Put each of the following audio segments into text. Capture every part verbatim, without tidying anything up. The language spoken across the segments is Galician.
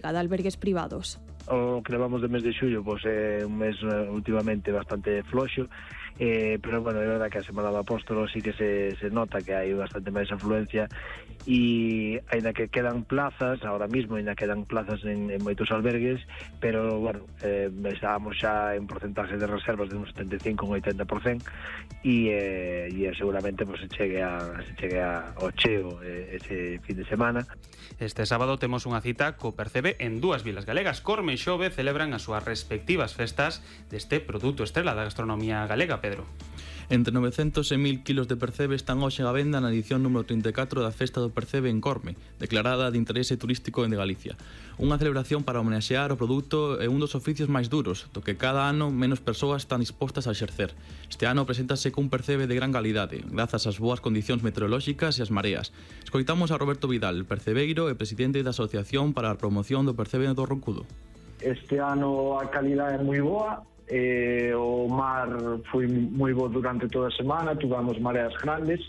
de albergues privados. O que levamos de mes de xullo pois é un mes últimamente bastante floxo, eh, pero bueno, é verdad que a Semana do Apóstolo sí que se, se nota que hai bastante máis afluencia, e ainda que quedan plazas, ahora mismo ainda quedan plazas en, en moitos albergues, pero bueno, eh, estábamos xa en porcentaje de reservas de un setenta e cinco a un oitenta por cento, e, eh, e seguramente pues, se chegue, a, se chegue a, ao cheo eh, ese fin de semana. Este sábado temos unha cita co Percebe en dúas vilas galegas. Corme e Xove celebran as súas respectivas festas deste produto estrela da gastronomía galega, Pedro. Entre novecentos e mil kilos de percebe están hoxe á venda na edición número trinta e catro da Festa do Percebe en Corme, declarada de interese turístico de Galicia. Unha celebración para homenaxear o produto é un dos oficios máis duros, do que cada ano menos persoas están dispostas a exercer. Este ano preséntase cun percebe de gran calidade, grazas ás boas condicións meteorolóxicas e as mareas. Escoitamos a Roberto Vidal, percebeiro e presidente da Asociación para a Promoción do Percebe do Roncudo. Este ano a calidade é moi boa. Eh, o mar foi moi bo durante toda a semana, tuvamos mareas grandes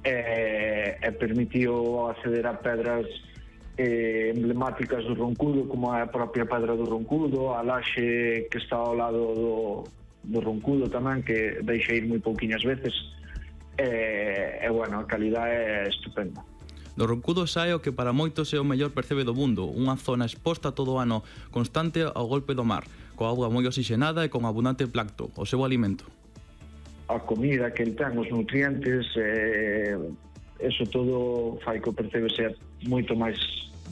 eh, e permitiu acceder a pedras eh, emblemáticas do Roncudo, como a propia Pedra do Roncudo, a laxe que está ao lado do, do Roncudo tamén, que deixa ir moi pouquiñas veces, e, e bueno, a calidade é estupenda. Do Roncudo sae o que para moitos é o mellor percebe do mundo, unha zona exposta todo o ano constante ao golpe do mar, coa auga moi oxigenada e con abundante plancto, o seu alimento. A comida que el ten, os nutrientes, eh, eso todo fai que o percebe ser moito máis,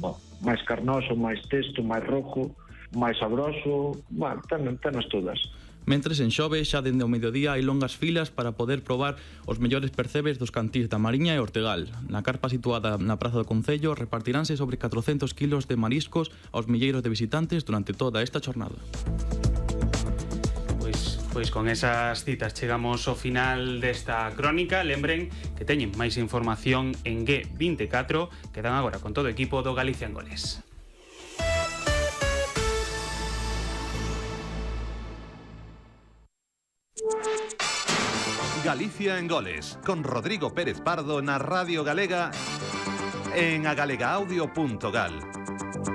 bueno, máis carnoso, máis testo, máis rojo, máis sabroso, bueno, ten, tenas todas. Mentres en Xove xa dende o mediodía hai longas filas para poder probar os mellores percebes dos cantís da Mariña e Ortegal. Na carpa situada na Praza do Concello repartiránse sobre catrocentos kilos de mariscos aos milleiros de visitantes durante toda esta jornada. Pois, pois con esas citas chegamos ao final desta crónica. Lembren que teñen máis información en G vinte e catro, quedan agora con todo o equipo do Galicia en Goles. Galicia en Goles, con Rodrigo Pérez Pardo na Radio Galega en agalega audio punto gal.